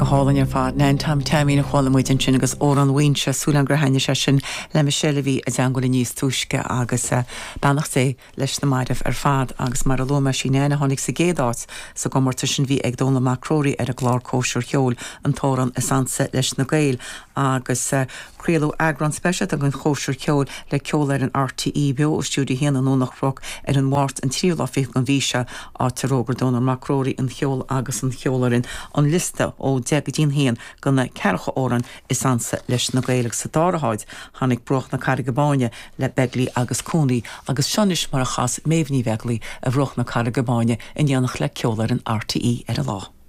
Go hálainn ar fad. Nan Tom Teaimín a chuala muid ansin agus Amhrán Mhaínse, súil agam gur thaitnigh sé sin le Michelle a bhí i dteangmháil linn níos túisce agus beannacht Dé leis na mairbh ar fad. Agus mar a luaigh mé, sí Nan a tháinig sa gcéad áit sa gcomórtas sin a bhí ag Dónall Mac Róraí ar an gclár Cóisir Cheoil, an t-amhrán is ansa leis na Gaeil. Agus craoladh eagrán speisialta den Chóisir Cheoil le Ceolfhoireann RTÉ beo ó Stiúideo 1 i nDomhnach Broc ar an Mháirt an tríú lá fichead den mhí seo, áit ar fhógair Dónall Mac Róraí an cheol agus an cheolfhoireann an liosta ó 10 go dtí'n 1 de na ceathracha amhrán is ansa leis na Gaeil agus sa dara háit tháinig Bruach na Carraige Báine le Begley agus Cooney agus seo anois mar a chas Méabh Ní Bheaglaoi ar Bhruach na Carraige Báine in éineacht le Ceolfhoireann RTÉ ar an lá.